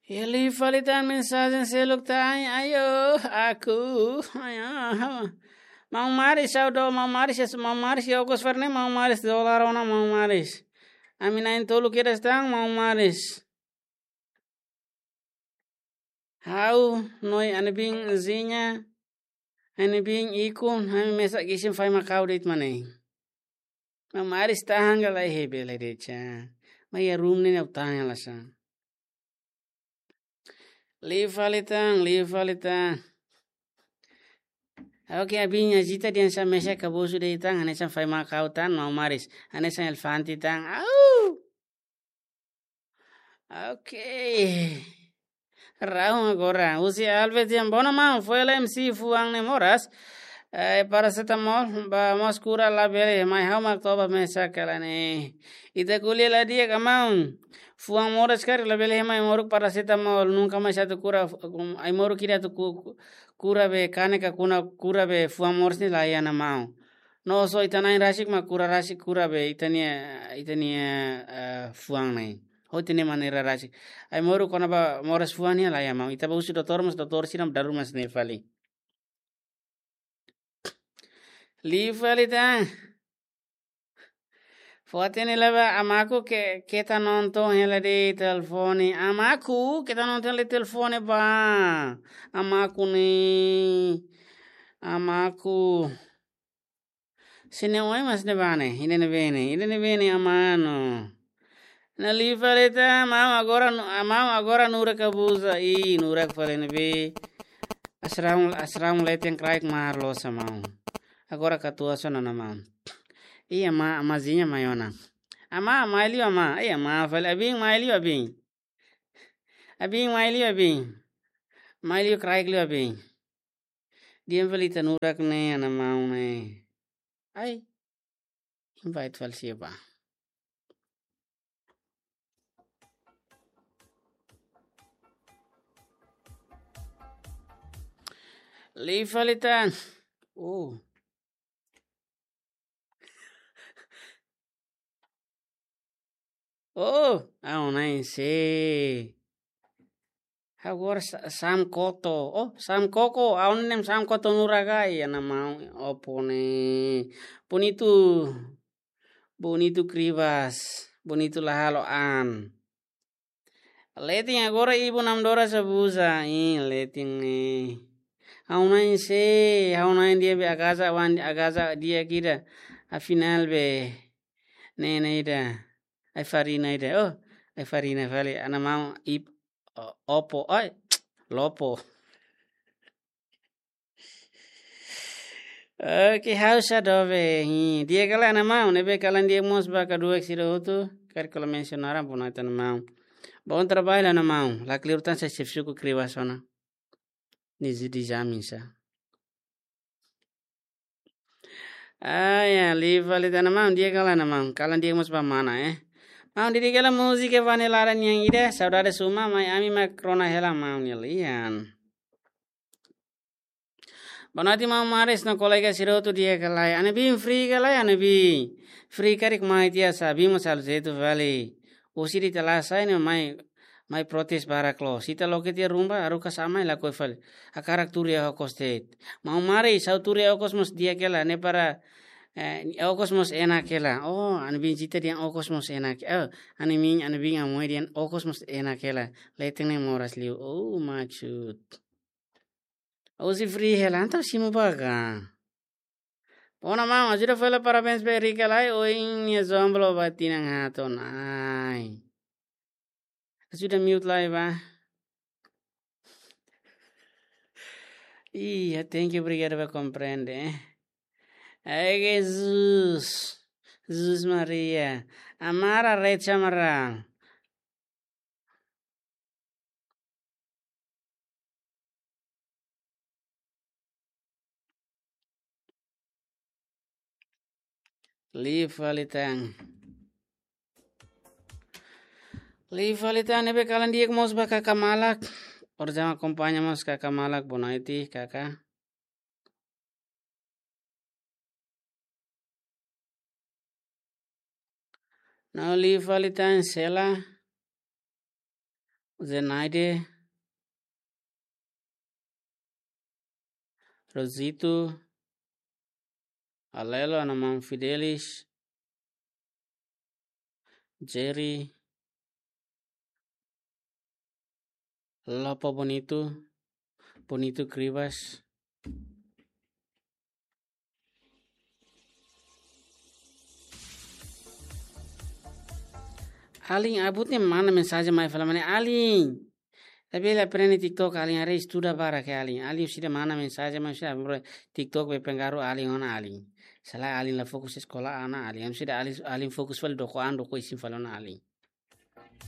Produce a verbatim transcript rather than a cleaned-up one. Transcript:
Liu fali tan mensajen seluk tan, ayo, aku, ayo. Maun Maris, ha'u dó, Maun Maris, es, Maun Maris, ya, okos ferne, Maun Maris, dolar ona, Maun Maris. Ami na'in-tolu kedas tan, Maun Maris. Ha'u, no iha Anebin Zinya, Anebin Ikun, ami mesak isin fai Makau de'it mak ne'e. Maun Maris tahan ka lae, he bele de'it sa. Mai iha room ne'e ha'u tahan hela sa. Liu fali tan, liu fali tan. Oke, abin, agita dehan sa mesak kabusu de'it tan, hanesan fai Makau tan, Maun Maris. Hanesan elefante tan. Au! Oke. Raun agora. Husi Alves dehan, bona maun, foin hela M C fuan ne'e moras. Eh, paracetamol, ba mós kura labele, mai ha'u mak toba mesak hela ne'e. Ita ko'alia la di'ak ka maun. Fuan moras karik labele mai moruk paracetamol, nunka mais atu kura, ai-moruk ida atu ku-, ku-, kura be kanek ka kuna kura be fuan moras ne'e la iha ona maun. No só ita na'in rasik mak kura rasik kura be ita-nia, ita-nia, eh, fuan ne'e. Ho ita-nia maneira rasik. Ai-moruk kona-ba moras fuan ne'e la iha maun. Ita bá husu doutór mas doutór sira daruman hanesan ne'e fali. Liu fali tan. Fó-hatene lai ba, amaku ke-, keta nonton hela de'it telefone. Amaku keta nonton hela de'it telefone ba. Amaku ne'e. Amaku. Sene oi mas ne'ebá ne'e. Ida ne'ebé ne'e. Ida ne'ebé ne'e amá no. Ne'e liu fali tan, maun agora nu-, maun agora nurak kabusa. Ih, nurak fali ne'ebé. Asraun, asraun leten kraik mahar loos sa maun. Agora katuas ona ona maun. Ih, amá, amázinha mai ona. Amá, mai liu amá. Ih, amá fali, abin, mai liu abin. Abin, mai liu abin. Mai liu kraik liu abin. Dehan fali ita nurak ne'e, ana maun ne'e. Ai. Invite fali sira ba. Liu fali tan. Oh. Oh, ha'u na'in sei. Agora sa-, Sam Koto. Oh, Sam Koko. Ha'u-nia na'in Sam Koto nurak ai, ana maun Oppo ne'e. Bonitu. Bonitu Kribas. Bonitu la halo an. Leten agora ibu nam dora sa busa. Ih, leten ne'e. Ha'u na'in sei, ha'u na'in di'ak be agaza wan, agaza di'ak ida. Afinál be. Ne'e, ne'e ida. Ai-farina ida. Oh, ai-farina fali. Ana maun ip-, o-, Oppo. Ai, Lopo. Oke, ha'u sa dobe. Hi, di'ak ka lae ana maun, ne'ebé kalan di'ak mós ba kaduak sira hotu, karik kola mensionar ba ona tan maun. Bom trabalho ana maun, la kleur tan sa xefe suku Kribas ona. Nizi di jamin sa. Ah, ya, liu fali tan ana maun, di'ak ka lae ana maun, kalan di'ak mós ba mana, eh. Maun, di'ak ka lae múzika Vanilla nian ida, saudade suma, mai ami mak rona hela maun nia lian. Boa noite, maun Maris no kolega sira hotu, di'ak ka lae. Anebin free ka lae, Anebin. Free karik mai tiha sa, bin mós halo jeitu fali. Husi ita la sai ne'e mai, mai protes barak loos. Ita loke tiha rumah, haruka sa'e mai lakohi fali. Hakarak tuur iha okos de'it. Maun Maris, ha'u tuur iha okos mós di'ak hela, ne'e para, eh, okos mós enak hela. Oh, Anebin jita dehan okos mós enak. Oh, Anebin, Anebin amoi dehan okos mós enak hela. Leten ne'e moras liu. Oh, maksud. Husi free hela, entaun simu ba ka. Bona maun, ajuda fali parabéns ba Erika lai, ohin nia jomblo ba tinan haat ona. Ai. Ajuda mute lai ba. Ih, thank you, obrigadu ba komprende, eh. Ai, Jesus. Jesus Maria. Amara, rei chamara. Liu fali tan. Liu fali tan, ne'ebé kalan di'ak mós ba kaka malak. Orsida akompaña mós kaka malak, boa noite, kaka. No liu fali tan Sela. Zenaide, Rosito, Alelo, Ana Maun Fidelis, Jerry, Lopo Bonito, Bonito Kribas. Alin, abut ne'e mana mensajen mai fala mana Alin. Tapi la aprende TikTok, Alin, haree estuda barak ke Alin. Alin sida mana mensajen mai sida bro TikTok be pengaruh Alin ona Alin. Selae Alin la fokus eskola ona Alin. Anu sida Alin, Alin fokus fali doko an doko isin fali ona Alin.